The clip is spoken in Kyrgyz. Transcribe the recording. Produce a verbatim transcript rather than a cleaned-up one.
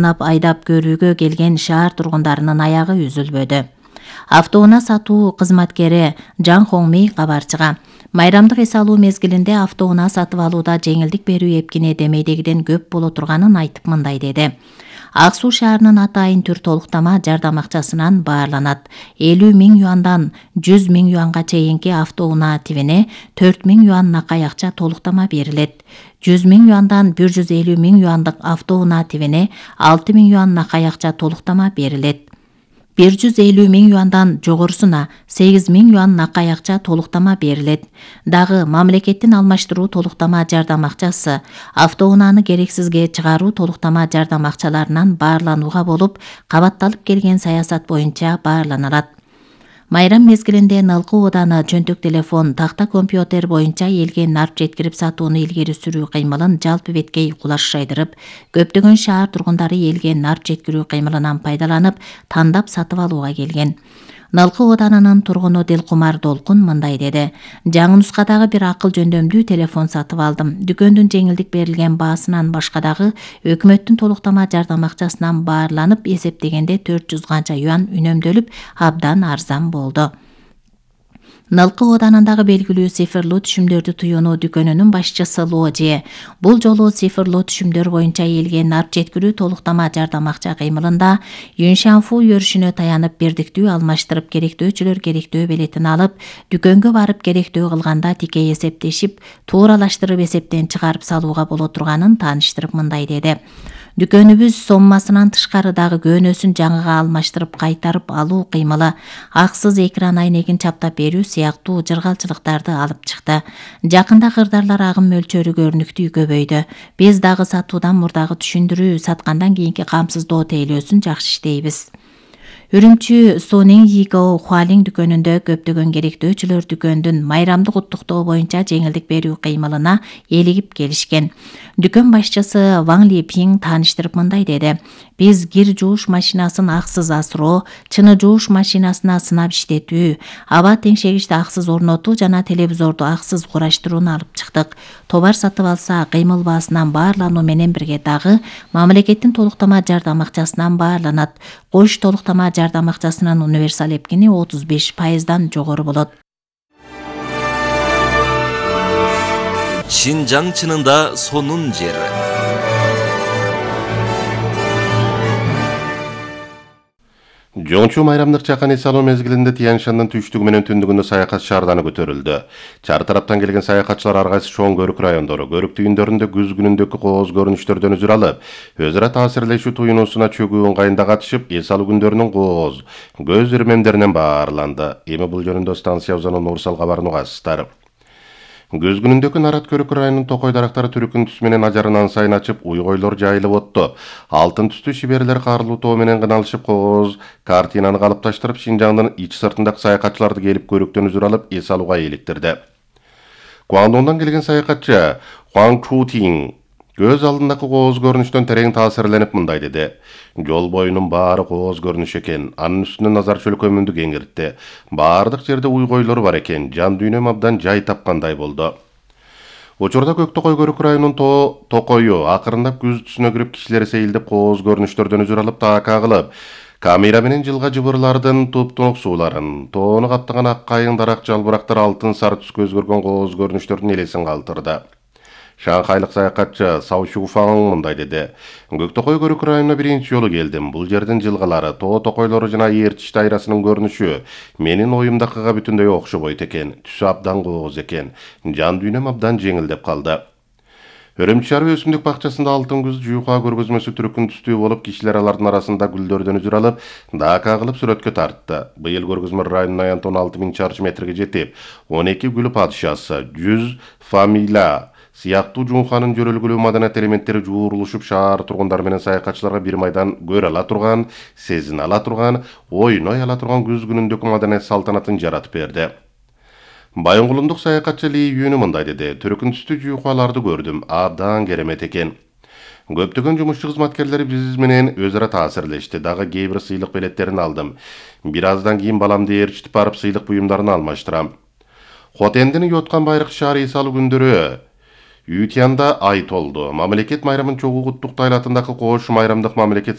айдап көрүүгө келген шаар тургундарынын аягы үзүлбөдү. Автоунаа сатуу кызматкери Жан Хоңми кабарчыга майрамдык эс алуу мезгилинде автоунаа сатып алууда жеңилдик берүү эпкине демейдегиден көп боло турганын айтып мындай деди. Ак Суу шаарынын атайын түр толуктама жардам акчасынан баарланат. элүү миң юандан жүз миң юанга чейинки автоунаа тибине төрт миң юан накай акча толуктама берилет. жүз миң юандан бир жүз элүү миң юандык автоунаа тибине алты миң юан накай акча толуктама берилет. бир жүз элүү миң юандан жогорусуна сегиз миң юан накай акча толуктама берилет. Дагы мамлекеттин алмаштыруу толуктама жардам акчасы автоунааны керексизге чыгаруу толуктама жардам акчаларынан баарланууга болуп, кабатталып келген саясат боюнча баарланалат. Майрам мезгилинде Налкы ооданы чөнтөк телефон, такта компьютер боюнча элге нарп жеткирип сатууну илгери сүрүү кыймылын жалпы беткей кулаш шайдырып, көптөгөн шаар тургундары элге нарп жеткирүү кыймылынан пайдаланып, тандап сатып алууга келген. Налкы оодарынын тургуну Дилкумар Долкун мындай деди. Жаңы нускадагы бир акыл жөндөмдүү телефон сатып алдым. Дүкөндүн жеңилдик берилген баасынан башка дагы өкмөттүн толуктама жардам акчасынан баарланып эсептегенде төрт жүз канча юан үнөмдөлүп, абдан арзан болду. Налкы оодарындагы белгилүү цифрлуу түшүмдөрдү туюунуу дүкөнүнүн башчысы Ложи бул жолу цифрлуу түшүмдөр боюнча элге нарп жеткирүү толуктама жардам акча кыймылында Юншанфу өрүшүнө таянып бирдиктүү алмаштырып керектөөчүлөр керектөө билетин алып, дүкөнгө барып керектөө кылганда тикей эсептешип, тууралаштырып эсептен чыгарып салууга боло турганын тааныштырып мындай деди. Дүкөнүбүз соммасынан тышкары дагы көнөсүн жаңыга алмаштырып кайтарып алуу кыймылы, аксыз экран айнегин чаптап берүү сыяктуу жыргалчылыктарды алып чыкты. Жакында кырдаарлар агым мөлчөрү көрүнүктүү көбөйдү. Биз дагы сатуудан мурдагы түшүндүрүү, саткандан кийинки камсыздоо тейлөөсүн жакшы иштейбиз. Үрүмчү Сонин Йиго Хуалин дүкөнүндө көптөгөн керектөөчүлөр дүкөндүн майрамдык уттуктоо боюнча жеңилдик берүү кыймылына элигип келишкен. Дүкөн башчысы Ван Липин тааныштырып мындай деди. Биз кир жууш машинасын аксыз асыроо, чыны жууш машинасына сынап иштетүү, аба теңшегичти аксыз орнотуу жана телевизорду аксыз кураштырууну алып чыктык. Товар сатып алса кыймыл баасынан баарлануу менен бирге дагы мамлекеттин толуктама жардам акчасынан баарланат. Кош толуктама жардам акчасынын универсал эпкини отуз беш пайыздан жогору болот. Шинжаң чынында сонун жер. Жоңчу майрамдык чакан эс алуу мезгилинде Тянь-Шаньдын түштүгү менен түндүгүндө саякат шаарданы көтөрүлдү. Чар тараптан келген саякатчылар ар кайсы чоң көрүк райондору, көрүк түйүндөрүндө күз күнүндөгү кооз көрүнүштөрдөн үзүр алып, өз ара таасирлешүү туюнуусуна чөгүү ыңгайында катышып, эс алуу күндөрүнүн кооз, көз ирмемдеринен баарланды. Эми бул жөнүндө станция узаны Нурсал кабарын угасыздар. Көз күнүндөгү Нарат көрүк районунун токой дарактары түрүкүн түс менен ажарынан сайын ачып, уйгойлор жайылып отту. Алтын түстүү шиберлер карлуу тоо менен кыналышып, кооз картинаны калыпташтырып, Шинжаңдын ич сыртындагы саякатчыларды келип көрүктөн үзүр алып, эс алууга eelиктирди. Гуандоңдон келген саякатчы Хуан Чутин көз алдындагы кооз көрүнүштөн терең таасирленип мындай деди. Жол боюнун баары кооз көрүнүш экен, анын үстүнө назар чөлкөмүндү кеңиртти. Баардык жерде уйгойлор бар экен, жан дүйнөм абдан жай тапкандай болду. Учурда Көк Токой көрүк районунун тоо токою акырындап күз түсүнө кирип, кишилер сейилдеп кооз көрүнүштөрдөн үзүр алып, таакка кылып, камера менен жылга жыбырлардын туп-туңук сууларын, тоону каптаган ак кайың дарак жалбырактар алтын сары түс көз көргөн кооз көрүнүштөрдүн элесин калтырды. Шанхайлык саякатчы Сао Шуфаң мындай деди. Көк Токой көрүк районуна биринчи жолу келдим. Бул жердин жылгалары, тоо токойлору жана Эрчиш дайрасынын көрүнүшү менин оюмдакыга бүтүндөй окшобойт экен. Түсү абдан кооз экен. Жан дүйнөм абдан жеңилдеп калды. Өрөмчү шаар өсүмдүк бакчасында алтын күз жуюка көргөзмөсү түрүкүн түстүү болуп, кишилер алардын арасында гүлдөрдөн үзүр алып, даакка кылып сүрөткө тартты. Быйыл көргөзмө районунун аянты он алты миң чарчы метрге жетип, он эки гүл падышасы, жүз фамилия сыяктуу Жунханын жөрөлгүлүү маданият элементтери жуурулушуп, шаар тургундары менен саякатчыларга бир майдан көрө ала турган, сезине ала турган, ойной ала турган күз күнүндөгү маданият салтанатын жаратып берди. Байоңгулундук саякатчы Ли Юнү мындай деди. Түрүкүн түстүү жуюкаларды көрдүм, абдан керемет экен. Көптөгөн жумушчу кызматкерлери биз менен өз ара таасирлешти. Дагы кээ бир сыйлык белеттерин алдым. Бир аздан кийин баламды ээрчитип барып сыйлык буюмдарын алмаштырам. Хотендин Йоткан байрак шаар эс алуу күндөрү Үй Тиянда ай толду. Мамлекет майрамын чогуу куттуктайлатындагы Кош майрамдык мамлекет